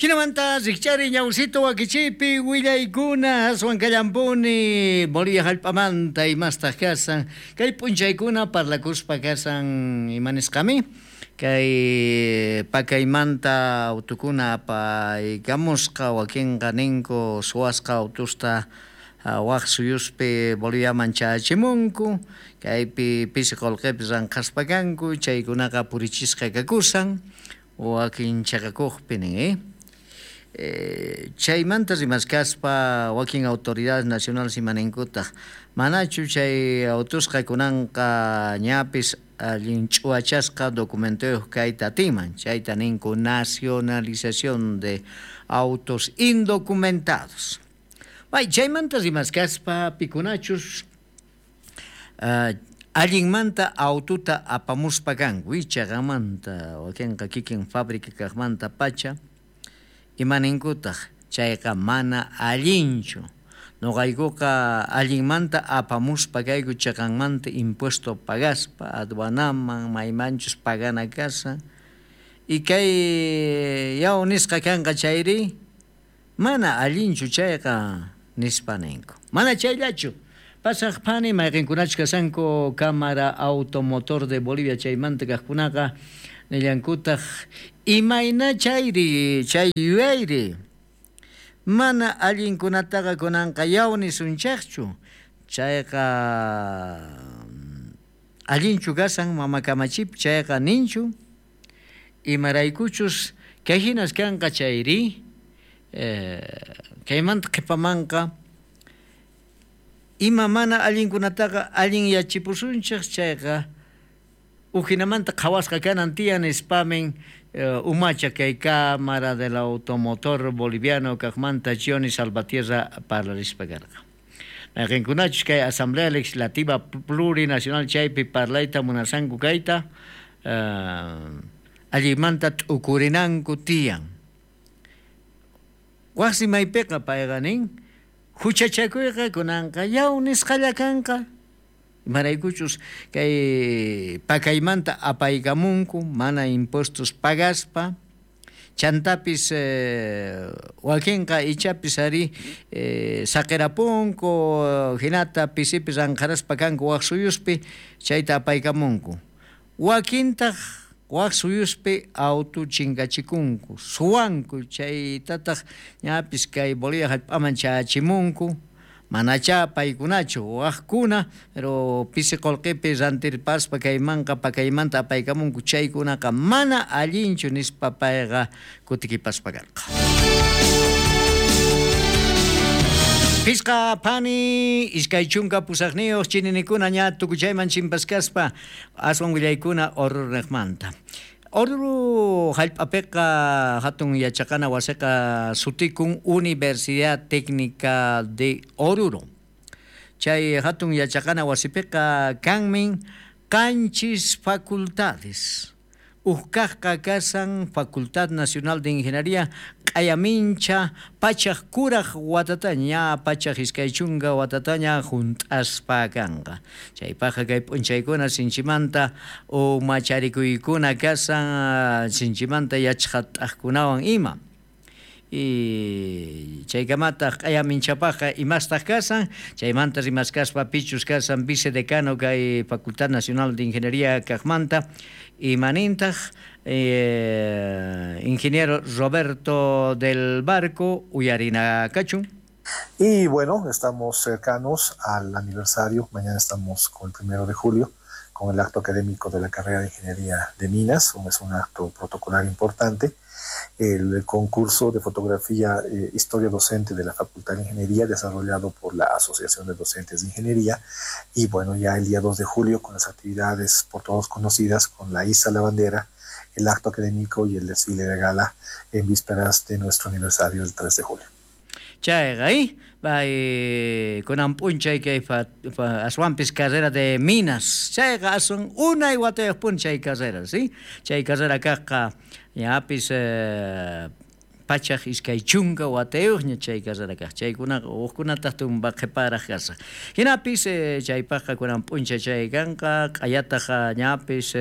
Jinamanta rikch'ariy ñawsito wakichiypi willaykuna aswan kallampuni Bolivia jallp'amanta imastaq kasan kay p'unchaykuna parlakuspa kasan imanisqami kay pakaymanta autukuna apaykamusqa wakinqa ninku suwasqa autusta waj suyuspi Boliviaman chayachimunku kaypi pisi qolqepi ranqhaspa kanku chaykunaqa purichisqa kakusan wakin chaqakuqpi nin chaymanta rimaskaspa wakin autoridades nacionales imaninkutaq manachu chay autusqa kunanqa ñapis allin ch'uwachasqa documentoyuq kayta atinman chayta ninku nacionalización de autos indocumentados. Bay chaymanta rimaskaspa pikunachus allinmanta aututa apamuspa kanku chaqamanta wakinqa kikin fábrica kaqmanta pacha imaninkutaq chayqa mana allinchu noqaykuqa allinmanta apamuspa kayku chaqanmanta impuesto pagaspa aduanaman maymanchus pagana kasan y kay yaw nisqa kanqa chayri mana allinchu chayqa nispa ninku mana chayllachu pasaq phani mayqinkunachus kasanku Cámara Automotor de Bolivia chaymanta kaqkunaqa nillankutaq imayna chayri chay yuyayri mana allinkunataqa kunanqa yaw nisunchaqchu chayqa allinchu kasan mama kamachipi chayqa ninchu imaraykuchus kay hinas kanqa chayri kaymanta qhipamanqa ima mana allinkunataqa allin yachipusunchik chayqa ujinamanta qhawasqa kanan tiyan nispamin umacha kay Cámara del Automotor Boliviano kaqmanta Johnny Salvatierra parlarispa karqa. Mayqinkunachus kay Asamblea Legislativa Plurinacional chaypi parlayta munasanku kayta allinmanta t'ukurinanku tiyan. Waqsi maypiqa payqa nin huchachakuyqa kunanqa yaw nisqalla kanqa imaraykuchus kay pakaymanta apaykamunku mana impuestos pagaspa chantapis wakinqa ichapis ari saqirapunku hinata pisipi ranqharaspa kanku waq suyuspi chayta apaykamunku wakintaq waq suyuspi autu chinkachikunku suwanku chaytataq ñapis kay Bolivia jallp'aman chayachimunku manacha paykunachu waqkuna pero pisi qolqepi rantirpaspa kaymanqa pakaymanta apaykamunku chaykunaqa mana allinchu nispa payqa kutikipaspa karqa. Pisqa phani 28 chininikuna ña tukuchayman chimpaskaspa aswan willaykuna Oruro-niqmanta. Oruro jallp'apiqa hatun yachaqana wasiqa sutikun Universidad Técnica de Oruro. Chay hatun yachaqana wasipiqa kanmin 7 facultades. Ukkaqqa kasan Facultad Nacional de Ingeniería q'ayamincha pachaq kuraq watataña pachaq 20 watataña junt'aspa kanqa. Chaypaqqa kay p'unchaykuna sinchimanta umacharikuykuna kasan sinchimanta yachqat'aqkunawan ima. Y chaykamataq q'ayaminchapaqqa imastaq kasan chaymanta rimaskaspa pichus kasan vicedecano kay Facultad Nacional de Ingeniería kaqmanta imanintaq ingeniero Roberto del Barco uyarina kachun. Y bueno, estamos cercanos al aniversario, mañana estamos con el 1 de julio, con el acto académico de la carrera de Ingeniería de Minas, es un acto protocolar importante. El concurso de fotografía Historia Docente de la Facultad de Ingeniería, desarrollado por la Asociación de Docentes de Ingeniería, y bueno, ya el día 2 de julio con las actividades por todos conocidas, con la Isa la Bandera, el acto académico y el desfile de gala en vísperas de nuestro aniversario el 3 de julio. Chayqa bay kunan p'unchay kay aswanpis carrera de minas chayqa aswan unay watayuq p'unchay carrera, ¿sí? Chay carrera kaqqa ñapis pachaq 20 watayuqña chay carrera kaq chaykunaqa hukkunataq tumpa qhiparaq kasaq hinapis chaypaqqa kunan p'unchay chay kanqa q'ayataq ñapis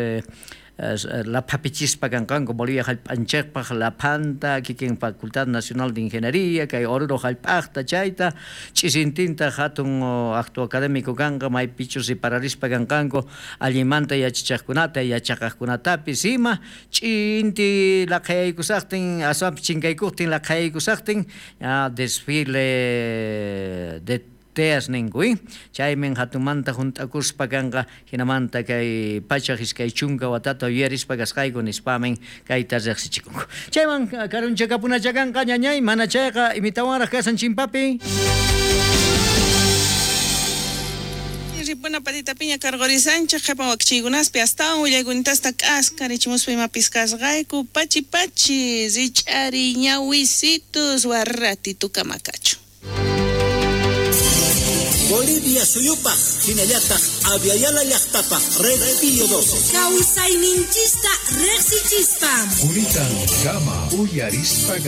Laphapichispa kanqanku Bolivia jallp'anchikpaq laphanta kikin Facultad Nacional de Ingeniería kay Oruro jallp'aqta chayta ch'isintinta hatun acto académico kanqa maypichus ripararispa kanqanku allinmanta yachachaqkunata yachaqaqkunatapis ima ch'inti laqhayaykusaqtin aswanpis chinkaykuqtin laqhayaykusaqtin desfile de teas ninku chaymin hatunmanta junt'akuspa kanqa hinamanta kay 120 watata yuyarispa kasqayku nispamin kayta riqsichikunku. Chayman karunchakapunacha kanqa ñañay mana chayqa imitawanraq kasan chimpapi. Ripuna patitapiña karqurisanchik qhipan wakichiykunaspi astawan willaykunitasta k'askarichimuspa imapis kasqayku pachi pachi rich'ari ñawisitus warratitukama kachu. Bolivia suyupaj hinallataq Aviala llaqtapaj Red Pío 12. Kawsayninchista riqsichispa. Kuritan kama uyarispa.